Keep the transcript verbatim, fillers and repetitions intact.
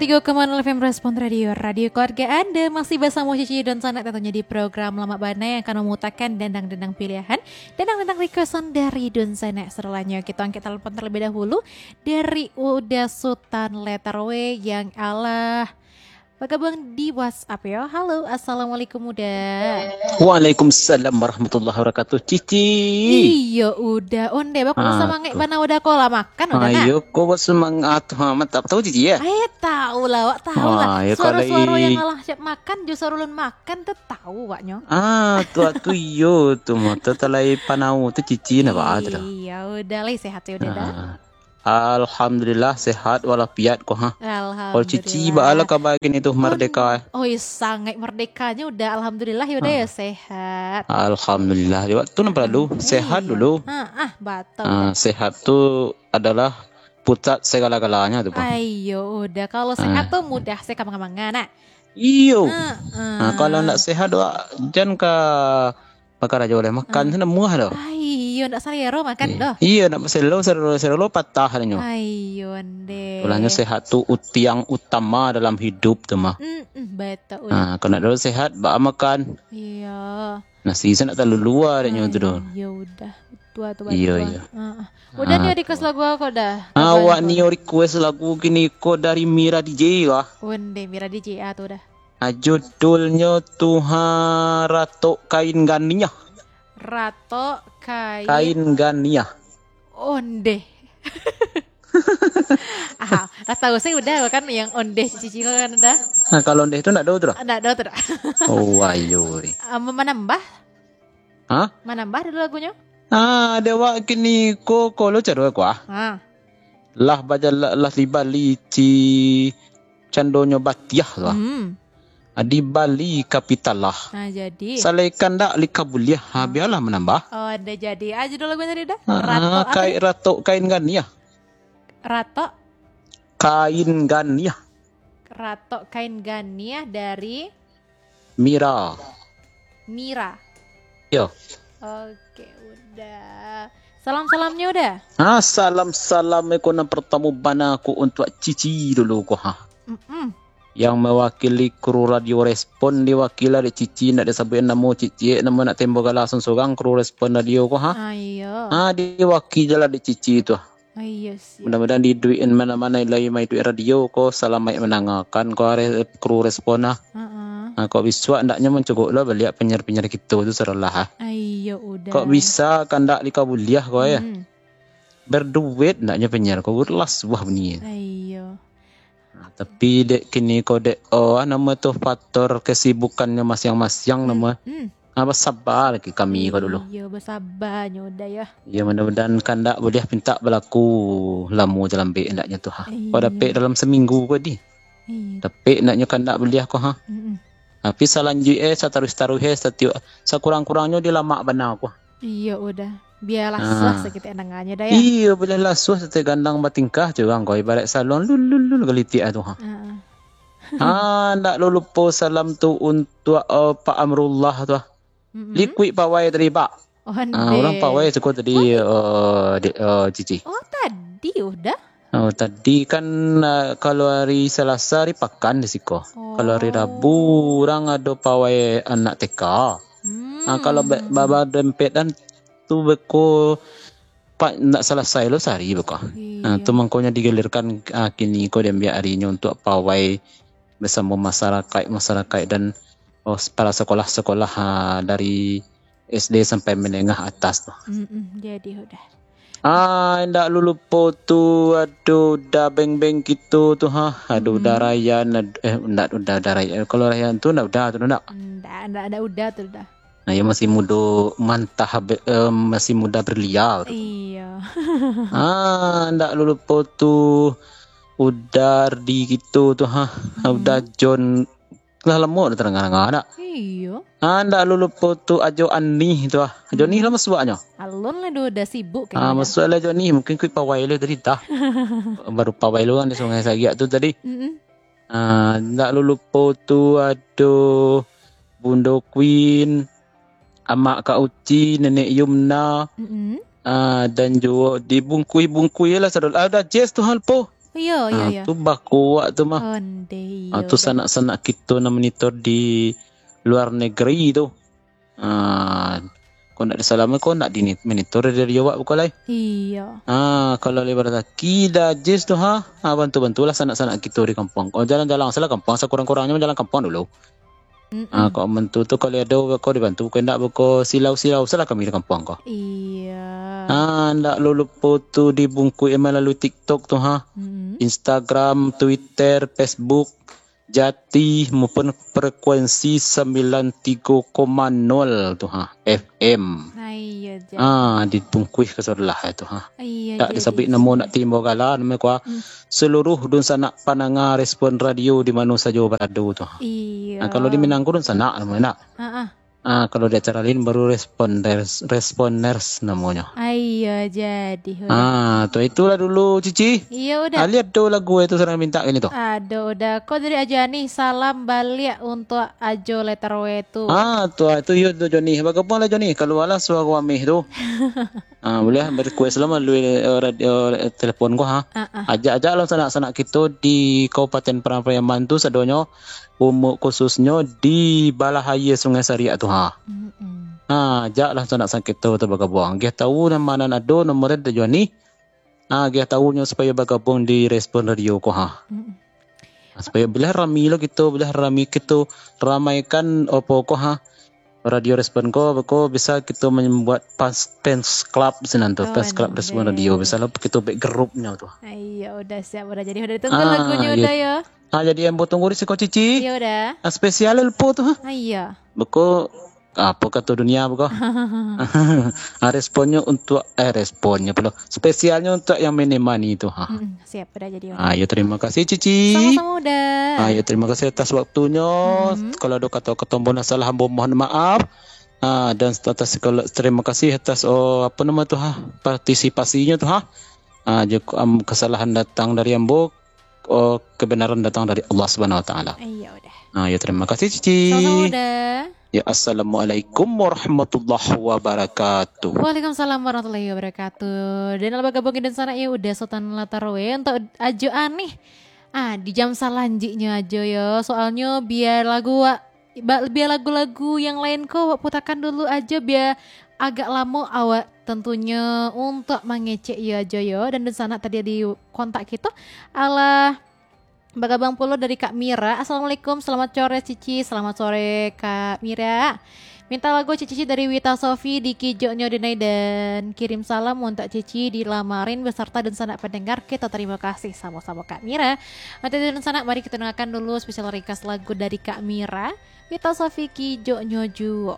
Yo, Kemanul F M Respon Radio, radio keluarga Anda. Masih basamo Cici Dunsanak, tantunyo di program Lamak Bana yang akan mamutakan dendang-dendang pilihan, dendang-dendang requestan dari Dunsanak. Sasudah nyo, kito angkek telepon terlebih dahulu dari Uda Sutan Letter W yang alah bagabuang di WhatsApp yo. Halo, assalamualaikum Uda. Waalaikumsalam warahmatullahi wabarakatuh, Cici. Iyo, Uda. Onde, baku Ah, semangat tu. Bana Uda ko lah makan, Uda, nak? Ayo, ko buat semangat. Ha, mantap. Tahu, Cici, ya? Eh, tahu lah, awak tahu lah. Ah, ya, kalau Suara-suara i- yang alah siap makan, jo suara ulun makan tu tahu, awaknyo. Ah, tu, tu iyo, tu mah. Tu talai panau tu Cici, nak, apa tu dah? Iya, Uda lah, sehat ya, Uda, dah. Ah. Alhamdulillah, sehat walafiat ko, ha. Kalau Cici, Alhamdulillah. Baa lah kaba kini tu, merdeka, eh? Oi, sangat merdekanya Uda, alhamdulillah, ya Uda, ya, Ah. Sehat. Alhamdulillah, di waktu nan perlu, Hmm, sehat iya. Dulu. Ha, ah, betul, Ah, Uda. Sehat tu adalah pusat segala-galanya tu, Bang. Ayo, Uda, kalau sehat Ah. tu mudah se ka manga-manga, nak. Iyo. Ha, Nah, kalau ah. Ndak sehat, wak, jan ka bakarajo lai, makan Ah. tu ndak muah doh. Ah, iyo, ndak salero makan Eh, doh. Iyo, ndak salero, salero, salero patah nyo. Ayo, ndeh. Ulahnyo sehat tu utiang utama dalam hidup tu mah. Mm-mm, betul, Uda. Ah, kalau ndak ado sehat, baa makan. Iyo. Nasi se ndak talulua dek nyo tu doh. Ayo, Uda. Tua tu Iyo, batua. Iyo. Ah, ah. Uda Ah, nio request tu. Lagu apa, Uda? Ah, lagu awak apa? Nio request lagu kini ko dari Mira D J kah? Onde, Mira D J, ah, tu Uda. Ah, judulnyo tu, ha, Ratok Kain Ganiah. Ratok Kain Kain Ganiah. Onde. Ah, lah tahu se Uda kan yang onde Cici ko kan Uda. Nah, kalau onde tu ndak ado tu dah? Ndak ado tu dah. Oh, ayo, ri. Ah, ma-, manambah? Hah? Manambah dulu lagunyo? Ah, dek awak kini ko, ko lo caro ko, ah. Ah. Lah bajala-, lah dibali ci candonyo batiah tu, ah. Hmm. Ah, dibali kapital lah. Ah, jadi. Salai kandak lika buliah, ha, Ah. bialah manambah. Oh, ado jadi. Ah, judul lagu tadi dah? Ah, Ratok apa kai-, tadi? Ratok Kain Ganiah. Ratok? Kain Ganiah. Ratok Kain Ganiah dari Mira. Mira. Yo. Oke, Uda. Salam-salamnyo Uda. Ah, salam-salam ko nan partamo bana ko untuak Cici dulu ko, ha. Mm-mm. Yang mewakili kru Radio Respon diwakili dek Cici, ndak disabuik namo Cici, namo nak tembo gala sorang-sorang kru Respon Radio ko, ha. Ah, iyo. Ah, diwakili lah dek Cici tu. Ah, iyo, siap. Mudah-mudahan diiduikan mano-mano lai maiduik radio ko, salamaik mandangakan ko, are-, kru Respon lah. Heeh. Ah, kok bisuak ndaknyo mancogok lah baliak penyiar-penyiar kito tu sarolah, ah. Ah, iyo, Uda. Kok bisa kandak lika buliah ko, ya? Hmm. Berduet ndaknyo penyiar ko, lah suah bunyi. Ah, iyo. Nah, tapi dek kini ko dek, oh, ah, namo tu, faktor kesibukannyo masiang-masiang Hmm, namo. Hmm. Ah, basaba lagi kami ko dulu. Iyo, basaba nyo Uda yo. Iyo, mudah-mudahan kandak buliah pintak balaku lamo jalambek ndaknyo tu, ha. Iyo. Kok dapek dalam saminggu ko di. Iyo. Dapek ndaknyo kandak buliah ko, ha. Mm-mm. Tapi salanjuik, eh, sataruih-taruih, eh, satiok, sakurang-kurangnyo di Lamak Bana ko. Iyo, Uda. Bialah Ah. Suah sakitik nangannyo dah, ya. Iyo, bialah suah sakitik gandang batingkah, curang ko, ibarat saluang lul, lul, lul, galitik ah tu, ha. Ah. Ah, ndak lo lupo salam tu untuak, eh, Pak Amrullah tu, ah. Mm-mm. Likuik pawai tadi, Pak. Oh, Ah, urang ndeh. Pawai tu ko tadi, Oh, ndeh. Eh, di, eh, Cici. Oh, tadi Uda? Oh, tadi kan, ah, kalau hari Salasa, hari pakan di siko. Oh. Kalau hari Rabu, urang ado pawai anak T K. Hmm. Ah, kalau ba-, baba dempet kan tu beko pa-, ndak salasai lo sahari beko. Iyo. Ah, tu mangkonyo digilirkan, ah, kini ko diambiak arinyo untuak pawai basamo masarakaik-masarakaik dan, oh, para sakolah-sakolah, ah, dari S D sampai menengah atas tu. Mm-mm, jadi Uda. Ah, indak lo lupo tu, ado Uda beng-beng kito tu, ha. Ado Uda Mm-mm. Rayan, ad-, eh, ndak Uda, Uda Rayan. Kalau Rayan tu ndak Uda tu, ndak? Ndak, ndak, ndak Uda tu, Uda. Nah, iyo masih mudo mantah, be-, eh, masih muda belia tu. Iyo. Ah, ndak lo lupo tu, Uda Ardi kito tu, ha. Mm-mm. Uda John. Lah lamo dah tadanga-danga dak? Iyo. Ah, ndak lo lupo tu Ajo Anih tu ah. Ajo Anih Hmm. lah masuaknyo. Alun lah, duo dah sibuk Ah, kayaknyo dah. Masuak lah Ajo Anih, mungkin kuik pawai lo tadi tah. Baru pawai lo kan di Sungai Sagiak tu tadi. Mm-mm. Ah, ndak lo lupo tu ado Bundo Queen, Amak Kak Uci, Nenek Yumna. Mm-mm. Ah, dan juo dibungkui-bungkui lah sadol-, ah, Uda Jess tu hal po. Iyo, iyo, Ah, iyo. Tu bakuak tu mah. Ondeh, iyo. Ah, tu sanak-sanak kito nan monitor di luar negeri tu. Ah, kok ndak disalami, kok ndak di monitor dari awak bukan lai. Iyo. Ah, kalau lebar rezeki dah jis tu ha, ah, bantu-bantulah sanak-sanak kito di kampuang. Oh, jalan-jalan salah kampuang, sakurang-kurangnyo jalan kampuang dulu. Mm-mm. Ah, kok mantu tu kalau ado beko dibantu, kok indak beko silau-silau salah kami di kampuang ko. Iya. Ah, ndak lo lupo tu dibungkuih melalui TikTok tu ha. Mm-mm. Instagram, Twitter, Facebook, Jati maupun frekuensi sembilan tiga koma nol tu ha, F M. Ah, iya, Jati. Ah, dibungkuih ka sabalah tu ha. Iya, Tak jadi. Disabuik namo, nak timbau gala, namo kuah. Hmm. Seluruh dunsanak pandanga Respon Radio di mano sajo barado tu ha. Iya. Ah, kalau di Minang ko dunsanak namo nak. Ah, ah. Ah, kalau di acara lain baru responders, responders namonyo. Ah, iya, jadi, udah. Ah, tu itulah dulu, Cici. Iya, udah. Ali ado lagu itu surang minta kini tu. Ado, udah. Kok dari Ajo Anih, salam baliak untuk Ajo Letter W tu. Ah, tu, ah, tu, iyo, tu, Joni. Bagabung lah, Joni. Kaluarlah suaro Amih tu. Ah, boleh, request lah melalui, eh, radio, eh, telepon ko, ha. Ah, ah. Ajak-ajak lah sanak-sanak kito di Kabupaten Padang Pariaman tu sadonyo, umur khususnyo di balah aia Sungai Sariak tu, ha. Mm-mm. Ha, ajak lah sanak-sanak kito tu bagabung. Agiah tahu nan ma nan ado, nomor dari Joni. Ha, agiah tahu nyo supayo bagabung di Respon Radio ko, ha. Mm-mm. Ha, supayo bilah rami lo kito, bilah rami kito, ramaikan opo ko, ha. Radio Respon ko, beko bisa kito membuat fans, fans club sinan tu, Oh, fans club Respon Radio. Bisa lo kito buek grupnyo tu. Iya, udah siap, udah jadi. Udah ditunggu Ah, lagunyo, iya. Udah ya. Ah, jadi ambo tunggu di siko, Cici. Iya, udah. Ah, spesial lupo tu, ha? Ah, iya. Beko, apo kato dunia beko? Ah, responnyo untuk, eh, responnyo pulo. Spesialnyo untuk yang menemani tu, ha. Mm-mm, siap, udah jadi. Ah, ya, terima kasih, Cici. Sama-sama, udah. Ah, ya, terima kasih atas waktunyo. Mm-mm. Kalau ado kato-kato ambo nan salah, ambo mohon maaf. Ah, dan atas segala, terima kasih atas, oh, apa nama tu, ha, partisipasinyo tu, ha. Ah, jika, am, kesalahan datang dari ambo, oh, kebenaran datang dari Allah Subhanahu Wa Taala. Iya, udah. Ah, ya, terima kasih, Cici. Sama-sama, udah. Ya, assalamualaikum warahmatullahi wabarakatuh. Waalaikumsalam warahmatullahi wabarakatuh. Dan alba gabung dan sanak ya, udah Sultan Latarwe untuk Ajo Anih. Ah, di jam salanjiknyo ajo yo. Soalnyo biar lagu wa-, ba-, biar lagu-lagu yang lain ko awak putakan dulu ajo, biar agak lamo awak tentunyo untuk mangecek yo ajo yo. Dan dunsanak tadi di kontak kito, alah bagabung pulo dari Kak Mira. Assalamualaikum, selamat sore Cici, selamat sore Kak Mira. Minta lagu Cici dari Wita Sofi di Kijoknyo Denai dan kirim salam untuk Cici di Lamarin beserta dunsanak pendengar. Kita terima kasih sama-sama Kak Mira. Untuk dunsanak, mari kita dengarkan dulu special request lagu dari Kak Mira. Wita Sofi, Kijoknyo Juo.